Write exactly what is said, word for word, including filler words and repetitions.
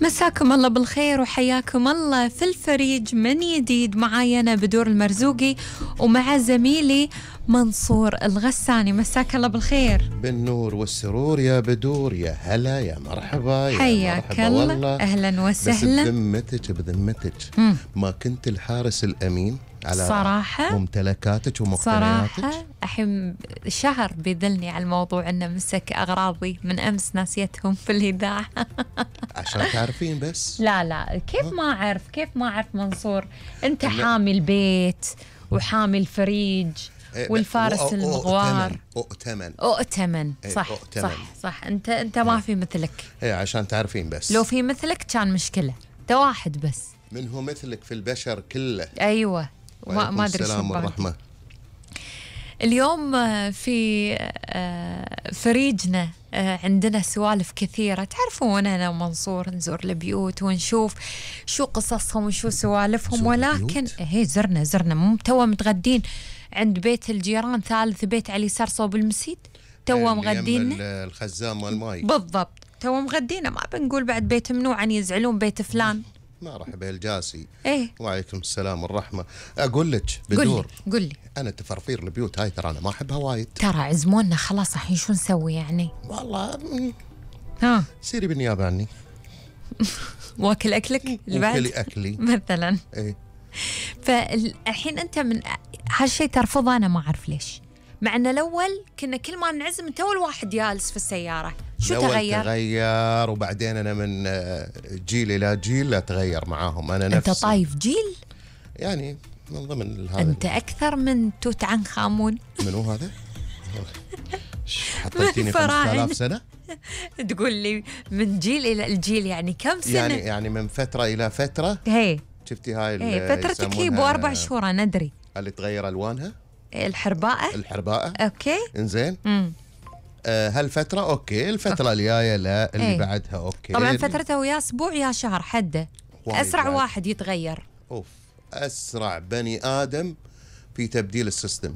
مساكم الله بالخير وحياكم الله في الفريج من جديد. معاي أنا بدور المرزوقي ومع زميلي منصور الغساني. مساك الله بالخير. بالنور والسرور يا بدور. يا هلا يا مرحبا يا حياك مرحبا الله. والله. أهلا وسهلا. بس بذمتك بذمتك ما كنت الحارس الأمين على صراحة ممتلكاتك ومقتنياتك؟ صراحة الحين شهر بيذلني على الموضوع أنه مسك أغراضي من أمس ناسيتهم في الإذاعة. عشان تعرفين بس. لا لا كيف ما أعرف كيف ما أعرف منصور. أنت حامي البيت وحامي الفريج والفارس المغوار. أؤتمن أؤتمن صح أؤتمن. صح صح. أنت أنت ما في مثلك. هي عشان تعرفين بس. لو في مثلك كان مشكلة. ده واحد بس. من هو مثلك في البشر كله. أيوة ما ما أدري شو. السلام والرحمة. اليوم في فريجنا عندنا سوالف كثيرة. تعرفون أنا ومنصور نزور البيوت ونشوف شو قصصهم وشو سوالفهم، ولكن هي زرنا زرنا مو توا متغدين عند بيت الجيران، ثالث بيت على اليسار صوب المسيد. توا مغدين الخزان مال الماي بالضبط. توا مغدينا ما بنقول بعد بيت ممنوع أن يزعلون بيت فلان. مرحبا الجاسي. ايه وعليكم السلام والرحمة. اقول لك بدور، قل لي انا تفرفير البيوت هاي ترى انا ما احبها وايد. ترى عزمونا خلاص الحين شو نسوي يعني؟ والله ها سيري بالنيابة عني. واكل اكلك وكلي اكلي مثلا. ايه فالحين انت من هالشيء ترفضه. انا ما اعرف ليش، مع ان الاول كنا كل ما نعزم انت اول واحد جالس في السياره. شو تغير؟ تغير وبعدين انا من جيل الى جيل لا تغير معاهم. انا نفسي. انت طايف جيل يعني من ضمن هذا. انت اكثر من توت عنخ امون. منو هذا؟ حطيتيني خمسة آلاف سنة؟ تقول لي من جيل الى الجيل يعني كم سنة؟ يعني يعني من فترة الى فترة. هي شفتي هاي هي فترتك هي باربع شهور ندري. اللي تغير الوانها؟ الحرباءة. الحرباءة اوكي انزين. امم آه هالفترة اوكي، الفترة الجاية لا، اللي ايه. بعدها اوكي. طبعا فترته يا اسبوع يا شهر حده. اسرع بعد. واحد يتغير. اوف اسرع بني ادم في تبديل السيستم.